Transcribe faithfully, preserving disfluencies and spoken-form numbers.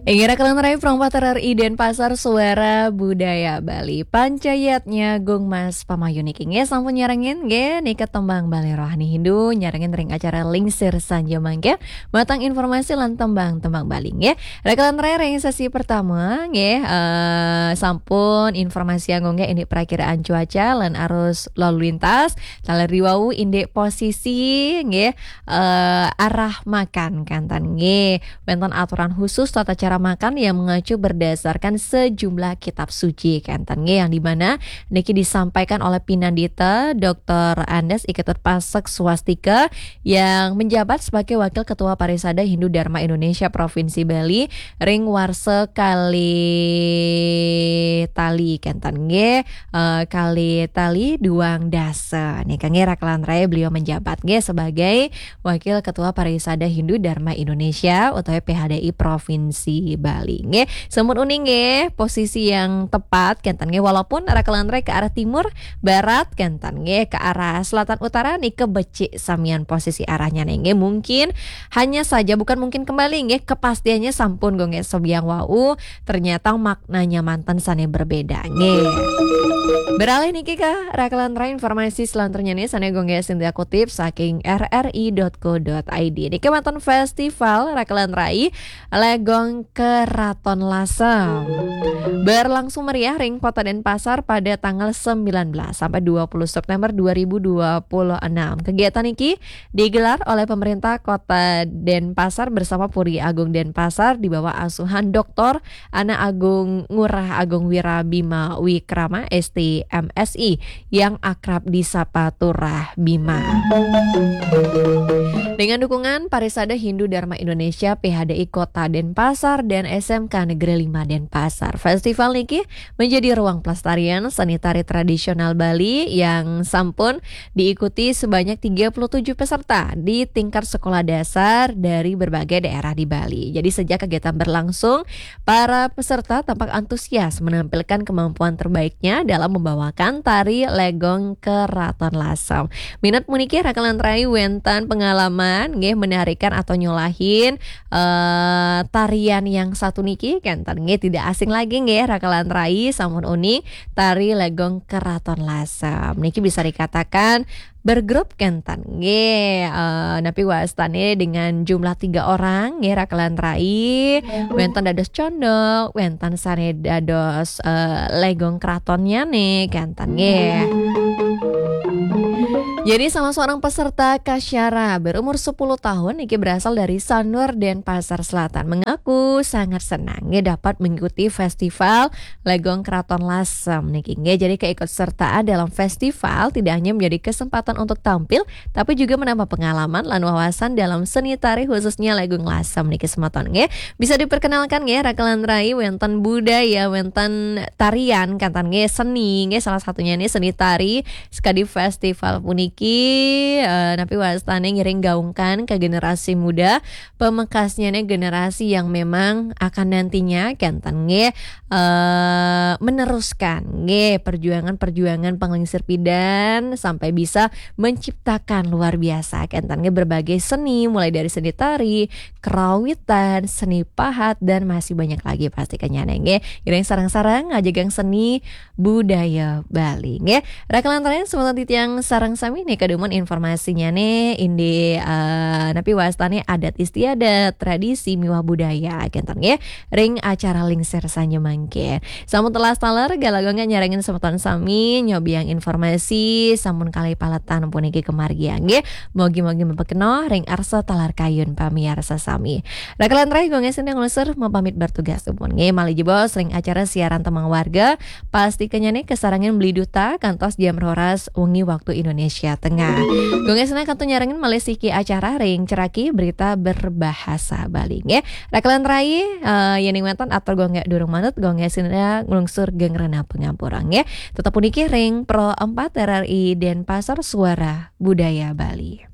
Inggih, rakan rai Pro empat R R I Denpasar, Suara Budaya Bali. Pancayatnya Gung Mas Pamayuni niki sampun nyarengin nggih nika tembang Bali Rohani Hindu, nyarengin ring acara Lingsir Sanja mangke. Matang informasi lan tembang-tembang Bali nggih. Rakan rai, ring sesi pertama nggih, eh, sampun informasi anggo nggih indik perakiraan cuaca lan arus lalu lintas. Taler riwau indik posisi nggih, eh, arah makan kanten nggih. Wenten aturan khusus tata cara makan yang mengacu berdasarkan sejumlah kitab suci kanten nggih, yang di mana niki disampaikan oleh Pinandita Doktor Andes Iketut Pasek Swastika yang menjabat sebagai Wakil Ketua Parisada Hindu Dharma Indonesia Provinsi Bali ring warsa kali tali kanten nggih, eh, kali tali duang dasa. Nika nggih rakan rai, beliau menjabat nggih sebagai Wakil Ketua Parisada Hindu Dharma Indonesia utawi P H D I Provinsi Bali nggih. Sampun uning nggih posisi yang tepat kanten nggih, walaupun rakan rai ke arah timur, barat kanten nggih, ke arah selatan utara nika becik samian posisi arahnya nggih. Mungkin hanya saja, bukan mungkin kembali nggih, kepastiannya sampun go nggih sebiang wau, ternyata maknanya manten sane berbeda nggih. Beralih niki ke rakan rai, informasi selanjutnya nih sane go nggih Sintia kutip saking R R I dot co dot I D. Niki wenten festival rakan rai Legong Keraton Lasem berlangsung meriah ring Kota Denpasar pada tanggal sembilan belas sampai dua puluh September dua ribu dua puluh enam. Kegiatan niki digelar oleh pemerintah Kota Denpasar bersama Puri Agung Denpasar di bawah asuhan Doktor Ana Agung Ngurah Agung Wirabima Wikrama, S T M Si, yang akrab disapa Turah Bima. Dengan dukungan Parisada Hindu Dharma Indonesia, P H D I Kota Denpasar, dan S M K Negeri lima Denpasar, festival niki menjadi ruang pelestarian seni tari tradisional Bali yang sampun diikuti sebanyak tiga puluh tujuh peserta di tingkat sekolah dasar dari berbagai daerah di Bali. Jadi sejak kegiatan berlangsung, para peserta tampak antusias menampilkan kemampuan terbaiknya dalam membawakan tari Legong Keraton Lasem. Minat puniki rakan rai wenten pengalaman nggih menarikan atau nyolahin, eh, tarian yang satu niki kanten nggih, tidak asing lagi nggih rakan rai, sampun uning tari Legong Keraton Lasem. Niki bisa dikatakan bergrup kanten nggih, eh, napi wastane dengan jumlah tiga orang nggih rakan rai. Wenten dados condok, wenten sane dados, eh, Legong Keratonnya nih kanten nggih. Jadi salah seorang peserta Kasyara berumur sepuluh tahun niki berasal dari Sanur, Denpasar Selatan, mengaku sangat senang nggih dapat mengikuti festival Legong Keraton Lasem niki nggih. Jadi keikutsertaan dalam festival tidak hanya menjadi kesempatan untuk tampil, tapi juga menambah pengalaman lan wawasan dalam seni tari, khususnya Legong Lasem niki semeton nggih. Bisa diperkenalkan nggih rakan rai wenten budaya, wenten tarian kanten nggih, seni nggih, salah satunya nih seni tari. Sekadi festival puniki, eh, napi wastane ngiring gaungkan ke generasi muda, pamekasnya nih generasi yang memang akan nantinya kanten nggih, eh, meneruskan nggih perjuangan-perjuangan panglingsir pidan sampai bisa menciptakan luar biasa kanten nggih berbagai seni, mulai dari seni tari, kerawitan, seni pahat, dan masih banyak lagi pasti kenyane nggih. Ngiring sareng-sareng ngajegang seni budaya Bali nggih. Rakan rai semeton titiang sareng sami nika dumun informasinya nih indik, eh, napi wastane adat istiadat, tradisi miwah budaya kanten nggih ring acara Lingsir Sanja mangke. Sampun telas taler, galagongan nyarengin semeton sami, nyobiang informasi sampun kalih paletan puniki kemargiang nggih. Mogi-mogi mapikenoh ring arsa taler kayun pamiarsa sami. Rakan rai, Gung Esin yang nglungsur mapamit bertugas dumun nggih. Malih jebos ring acara siaran Tembang Warga, pasti kenyane kasarengin Beli Duta kantos jam roras wengi waktu Indonesia Tengah. Gung Esin kantun nyarengin malih siki acara ring ceraki berita berbahasa Bali nggih. Rakan rai, eh, yening wenten atur Gung durung manut, Gung Esin nglungsur geng rena pangampura nggih. Tetep puniki ring Pro empat R R I Denpasar, Suara Budaya Bali.